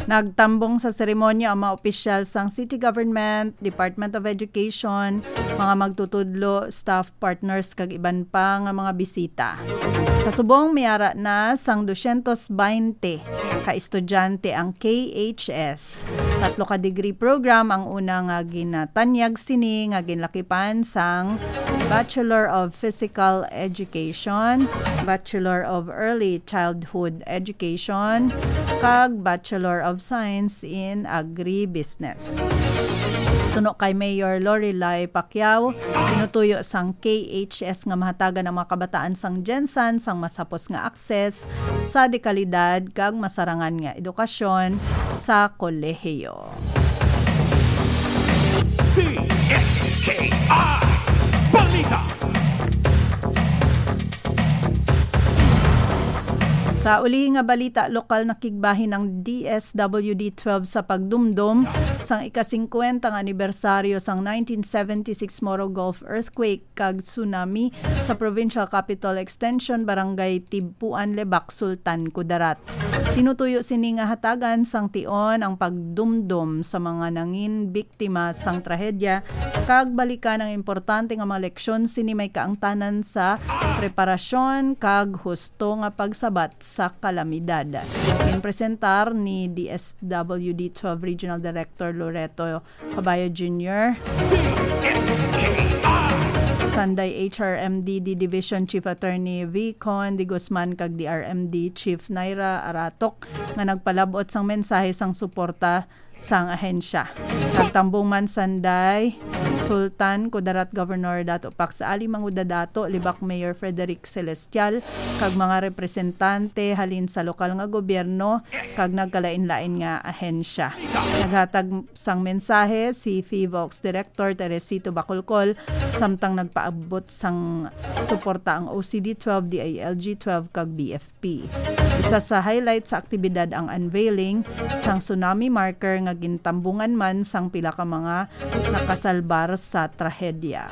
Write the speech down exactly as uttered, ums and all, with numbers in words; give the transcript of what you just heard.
Nagtambong sa seremonya ang mga opisyal sang city government, Department of Education, mga magtutudlo, staff partners, kag iban pa nga mga bisita. Sa subong, may ara na sang dosyentos baynte ka estudyante ang K H S. Tatlo ka degree program ang una nga ginatanyag sini, nga ginlakipan sang Bachelor of Physical Education, Bachelor of Early Childhood Education, kag Bachelor of Science in Agribusiness. Suno kay Mayor Lorelai Pacquiao, tinutuyo sang K H S nga mahatagan ang mga kabataan sang GenSan sang mas hapos nga access sa dekalidad kag masarangan nga edukasyon sa kolehiyo. D X K I Balita. Sa ulihi nga balita, lokal, nakigbahin ang D S W D twelve sa pagdumdom sang ika-singkwenta nga anibersaryo sang nineteen seventy-six Moro Gulf earthquake kag tsunami sa Provincial Capital Extension, Barangay Tibpuan, Lebak, Sultan Kudarat. Tinutuyo sini nga hatagan sang tion ang pagdumdom sa mga nangin biktima sang trahedya, kag balikan ang importante nga mga leksyon sini may kaangtanan sa preparasyon kag husto nga pagsabat sa kalamidad. Ginpresentar ni D S W D twelve Regional Director Loreto Caballo Junior, Sunday H R M D D Division Chief Attorney Vicon de Guzman, kag D R M D Chief Naira Aratok, nga nagpalab-ot sang mensahe sang suporta sang ahensya. Nagtambong man Sunday, Sultan Kudarat Governor Dato Pax Ali Manguda Dato, Lebak Mayor Frederick Celestial, kag mga representante halin sa lokal nga gobyerno kag nagkalain-lain nga ahensya. Naghatag sang mensahe si PHIVOLCS Director Teresito Bacolcol, samtang nagpaabot sang suporta ang O C D twelve, D I L G twelve, kag B F P. Isa sa highlight sa aktibidad ang unveiling sang tsunami marker nga gintambungan man sang pila ka mga nakasalbar sa trahedya.